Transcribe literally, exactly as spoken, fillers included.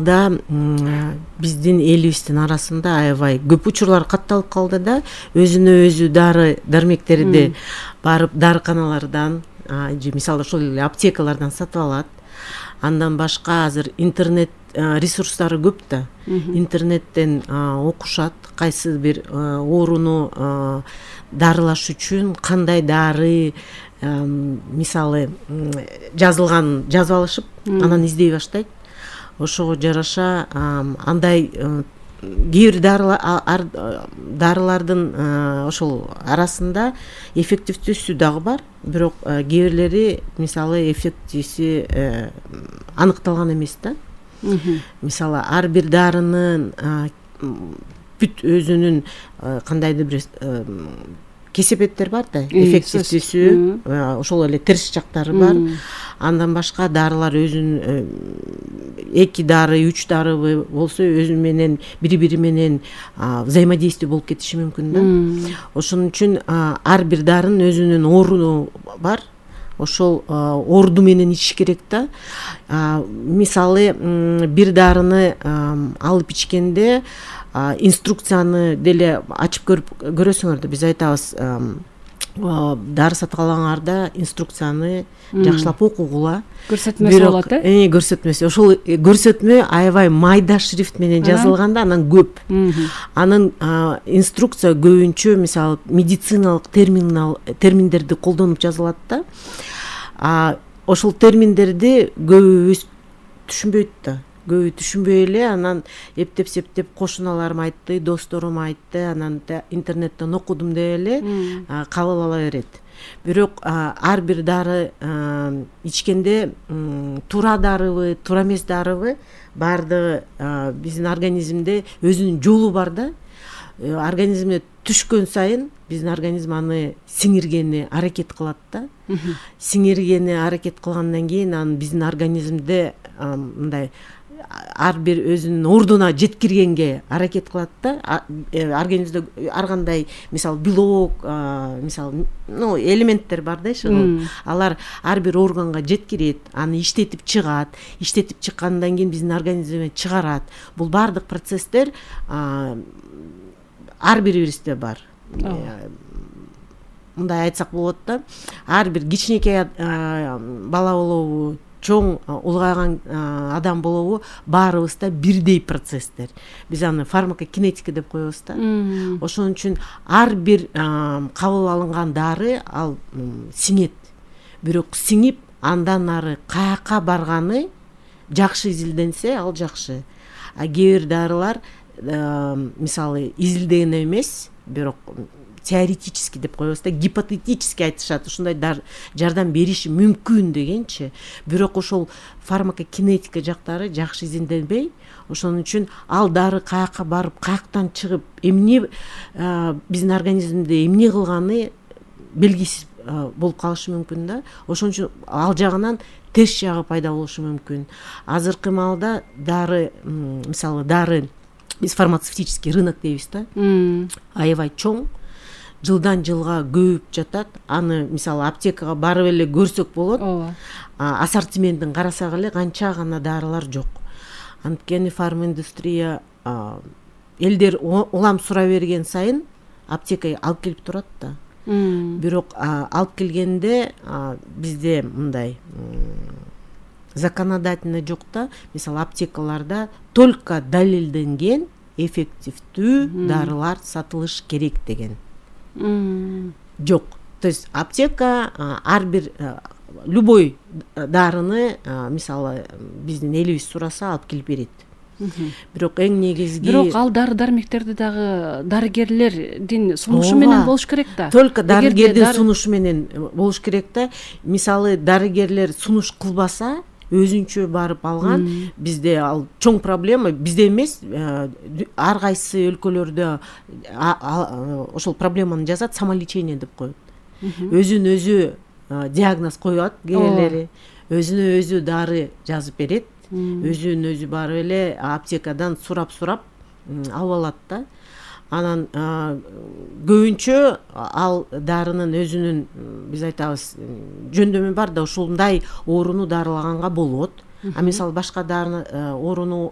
да биздин элибиздин арасында аябай көп учурлар катталып калды да, өзүнө өзү дары дармектерди барып дарыканалардан же мисалы ошол эле аптекалардан сатып алат. Андан башка азыр интернет ресурстары көп да, интернеттен окушат кайсы бир ооруну дарылаш үчүн кандай дары мисалы жазылган жазып алышып, анан издей баштайт. Ошого жараша андай кээ бир дарылардын ошол арасында эффективдүүсү дагы бар, бирок кээ бирлери мисалы эффектиси аныкталган эмес да. Мисалы ар бир дарынын бүт өзүнүн кандайдыр бир кесепеттер бар да, эффективдүүсү, ошол эле терс жактары бар. Андан башка дарылар өзүнүн эки дары, үч дары болсо өзү менен бири-бири менен взаимодействие болуп кетиши мүмкүн да. Ошон үчүн ар бир дарынын өзүнүн орду бар. Ошол орду менен ичиш керек да. Мисалы бир дарыны алып ичкенде инструкцияны деле ачып көрүп көрөсүңөр да, биз айтабыз дары сатып алгаңарда инструкцияны жакшылап окугула. Көрсөтмөсү болот э? Көрсөтмөсү. Ошол көрсөтмө аябай майда шрифт менен жазылганда анан көп. Анын инструкция көбүнчө мисалы медициналык терминдерди колдонуп жазылат да. Ошол терминдерди көбүбүз түшүнбөйт да. Көбү түшүнбөй эле анан эптеп-септеп кошуналарым айтты, досторум айтты, анан интернеттен окудум деп эле кабыл ала берет. Бирок ар бир дары ичкенде туура дарыбы, туура эмес дарыбы баардыгы биздин организмде өзүнүн жолу бар да. Организмге түшкөн сайын биздин организм аны сиңиргени аракет кылат да. Сиңиргени аракет кылгандан кийин анан биздин организмде мындай ар бир өзүнүн ордуна жеткиргенге аракет кылат да. Организмде ар кандай мисалы белок, мисалы, ну, элементтер бар да, алар ар бир органга жеткирет, аны иштетип чыгат, иштетип чыккандан кийин биздин организмден чыгарат. Бул баардык процесстер ар бирибизде бар. Мындай айтсак болот да, ар бир кичинекей бала болобу, чоң улгайган адам болобу, баарыбызда бирдей процесстер. Биз аны фармакокинетика деп коебуз да. Ошон үчүн ар бир кабыл алынган дары ал сиңет. Бирок сиңип андан ары каяка барганы жакшы изилденсе, ал жакшы. А кээ бир дарылар мисалы изилдеген эмес, бирок теоретически деп коебуз да, гипотетически айтышат, ушундай жардам бериши мүмкүн дегенчи. Бирок ошол фармакокинетика жактары жакшы изилденбей, ошон үчүн ал дары каяка барып, каяктан чыгып, эмне биздин организмде эмне кылганы белгисиз болуп калышы мүмкүн да. Ошон үчүн ал жагынан терс жагы пайда болушу мүмкүн. Азыркы маалда дары, мисалы дары, биз фармацевтический рынок дейбиз да, аябай чоң, жылдан жылга көбүп жатат. Аны мисалы аптекага барып эле көрсөк болот. Ассортиментин карасак эле канча гана дарылар жок. Анткени фарминдустрия элдер улам сурай берген сайын аптекага алып келип турат да. Бирок алып келгенде бизде мындай законодательно жок да. Мисалы аптекаларда только далилденген эффективдүү дарылар сатылыш керек деген жок. То есть аптека ар бир любой дарыны мисалы биздин элибиз сураса алып келип берет. Бирок эң негизги бирок ал дары дармектерди дагы дарыгерлердин сунушу менен болуш керек да. Только дарыгердин сунушу менен болуш керек да. Мисалы дарыгерлер сунуш кылбаса, өзүнчө барып алган, бизде ал чоң проблема, бизде эмес, ар кайсы өлкөлөрдө ошол проблеманы жазат, самолечение деп коет. Өзүн өзү диагноз коет кээрлери, өзүнө өзү дары жазып берет, өзүн өзү барып эле аптекадан сурап-сурап алып алат да. Анан көбүнчө ал дарынын өзүнүн, биз айтабыз, жөндөмү бар да, ушундай ооруну дарылаганга болот. А мисалы башка дарыны ооруну